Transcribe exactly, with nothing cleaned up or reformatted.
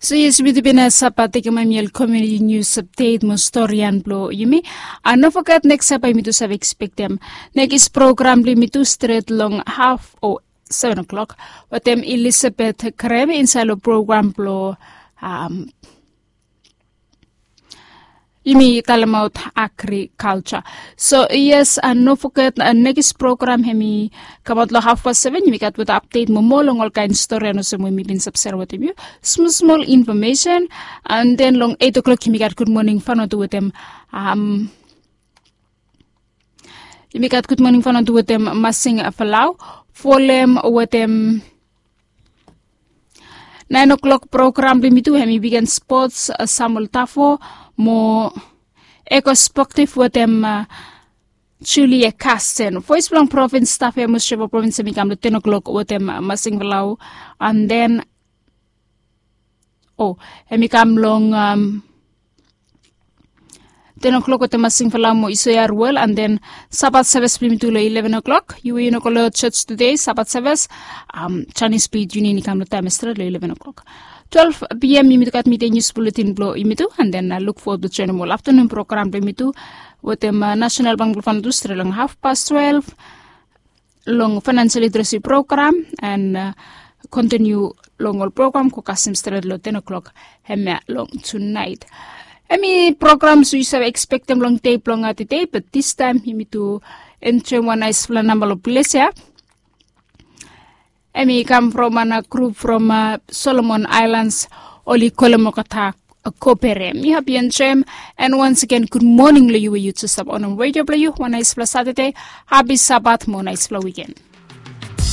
So yes, yumi tu bin save tekem em yel community news update mo storian blong yumi. A no foget neks yia bae yumi tu save ekspektem nekis program blong yumi tu stret long haf o seven o'clock wetem Elizabeth Krem insaed long program blong um, yumi talemaot agriculture. So yes, a no foget nekis program hemi kamaot long haf pas seven, yumi gat wetem apdet moa long olkaen storian olsem we mi bin save serem wetem yu, smol smol infomesen. And then long eight o'clock yumi gat gud moning fanotu wetem um, yumi gat gud moning fanotu wetem Masing Falau folem wetem nine o'clock program blong yumi tu hemi wiken spots, Samuel Tafo mo Eko Sportif wetem Julie Carsten. Voes blong provins staf ya mo Sheva provins hemi kam long ten o'clock wetem Masing Falau. And then o hemi kam long um, ten o'clock wetem Masing Falau mo Isoya Ruel. And then Sabat seves blong yumi tu long eleven o'clock. Yu we yu no go long church today, Sabat seves, um, Chinese Beat Union i kam long taem ya stret long eleven o'clock. Twelve p.m. yumi tu gat midei nius buletin blong yumi tu. And then uh, look forward to joinim ol aftanun program blong yumi tu wetem uh, National Bank blong Vanuatu stret long haf pas twelve long financial literacy program and uh, continue long ol program go kasem stret long ten o'clock hemia long tunaet. Hemi program so yu save ekspektem long dei blong tedei, but distaem yumi tu enjoem wan naesfala namba long ples ya. Hemi kam from wan grup from uh, Solomon Islands, oli kolem olgeta Kopere. Mi hapi enjoem. And once again, gud moning long yu we yu jes stap onem redio blong yu. Wan naesfala Satade, hapi Sabat mo naesfala wiken.